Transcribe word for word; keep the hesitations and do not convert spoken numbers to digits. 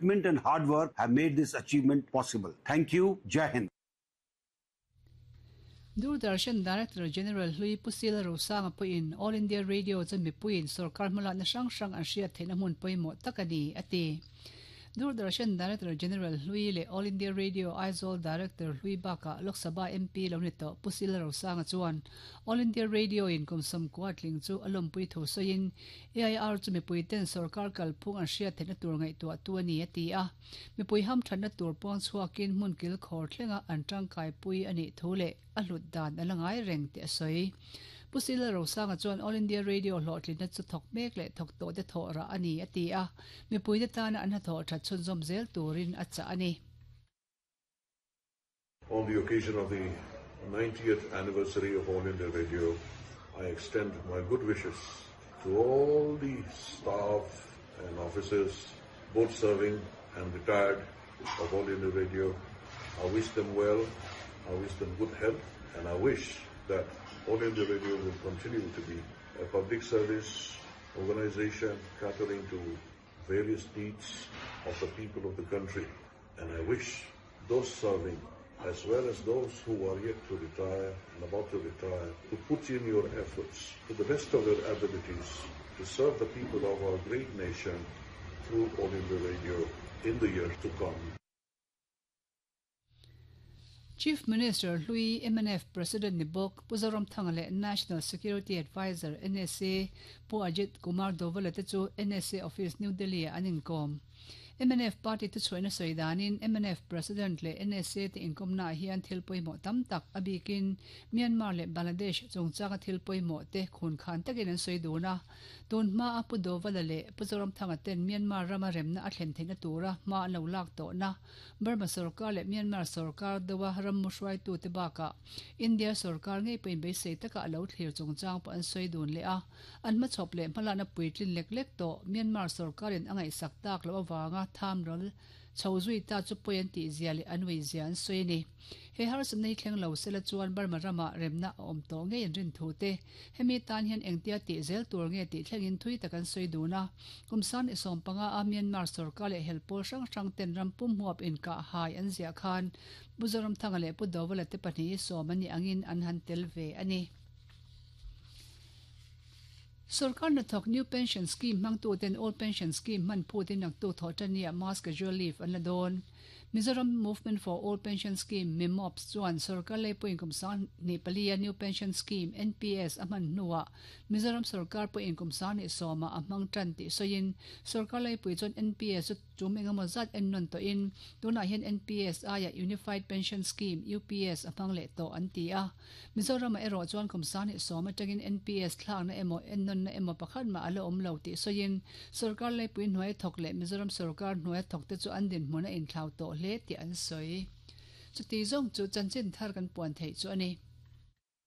And hard work have made this achievement possible. Thank you. Jai Hind. Doordarshan Director General Hlui Pu C L Rosanga pawhin All India Radio chu mipuiin sorkar hmalakna hrang hrang an hriat theihna hmun pawimawh tak a ni, a ti. Doordarshan Director General Hlui leh All India Radio Aizawl Director Hlui bakah Lok Sabha M P lo ni tawh Pu C L Rosanga chuan All India Radio in kum sawmkua tling chu a lawmpui thu sawiin A I R chu mipui ten sorkar kalphung an hriat theihna tur ngaihtuah tu a ni, a ti a. Mipui ham thatna tur puang chhuakin hmun kil khawr thlenga an tangkai pui a nih thu leh a hlut dan a la ngai reng tih a sawi. Pu C L Rosanga chuan All India Radio hlawhtlinna chu thawk mek leh thawk tawh te thawh rah a ni, a ti a. Mipui te tana an hnathawh that chhunzawm zel turin a chah a ni. On the occasion of the ninetieth anniversary of All India Radio, I extend my good wishes to all the staff and officers, both serving and retired, of All India Radio. I wish them well, I wish them good health, and I wish that All India Radio will continue to be a public service organization catering to various needs of the people of the country. And I wish those serving, as well as those who are yet to retire and about to retire, to put in your efforts to the best of your abilities to serve the people of our great nation through All India Radio in the years to come. Chief Minister Hlui M N F President ni bawk Pu Zoramthanga leh National Security Advisor N S A Pu Ajit Kumar Doval te chu N S A Office New Delhi ah an inkawm. M N F Party te chhuahna sawi danin M N F President leh N S A te inkawmna ah hian thil pawimawh tam tak a bikin Myanmar leh Bangladesh chungchanga thil pawimawh te khun khan takin an sawi dun a. Tun hma a Pu Doval leh Pu Zoramthanga ten Myanmar rama remna a thlen theihna tura hma an lo lak tawhna Burma sarkar leh Myanmar sarkar dawa ram muhruai tu te bakah India sarkar ngei pawhin beisei taka a lo thlir chungchang pawh an sawi dun leh a. An hmachhawp leh hmalakna puitlin lek lek tawh Myanmar sarkarin a ngaihsak tak loh awanga tham ral chho zui ta chu pawi an tih zia leh an ui zia an sawi a ni. He harsatna hi thleng lo sela chuan Burma rama remna a awm tawh ngei an rin thu te. Hemi tan hian engtia tih zel tur nge tih thlengin thui tak an sawi dun a. Kum san i sawm panga a Myanmar sarkar leh helpawl hrang hrang ten ram pum huap inkah hai an ziah khan Pu Zoramthanga leh Pu Doval te pahnih hi sawm an ni angin an han tel ve a ni. Sarkar hnathawk New Pension Scheme hmangtu ten Old Pension Scheme hman phutin naktu thawh tania mass casual leave an la dawn. Mizoram Movement for Old Pension Scheme MIMOPS chuan sarkar leipawh kum sang ni palia New Pension Scheme N P S a hman hnuah Mizoram sarkar pawh kum sang ni sawma a hmang tan tih sawiin sarkar leipui chuan N P S chu chum engemaw zat en nawn tawhin tunah hian N P S aia Unified Pension Scheme U P S a hmang leh tawh an ti a. Mizoram a erawh chuan kum sang ni sawm atangin N P S thlakna emaw en nawn na emaw pakhat ma ala awm lo tih sawiin sarkar leipui hnuai thawk leh Mizoram sarkar hnuai thawk te chu an dinhmun a inthlau tawh hle tih an sawi. Chuti zawng chu chanchin thar kan puan theih chu a ni.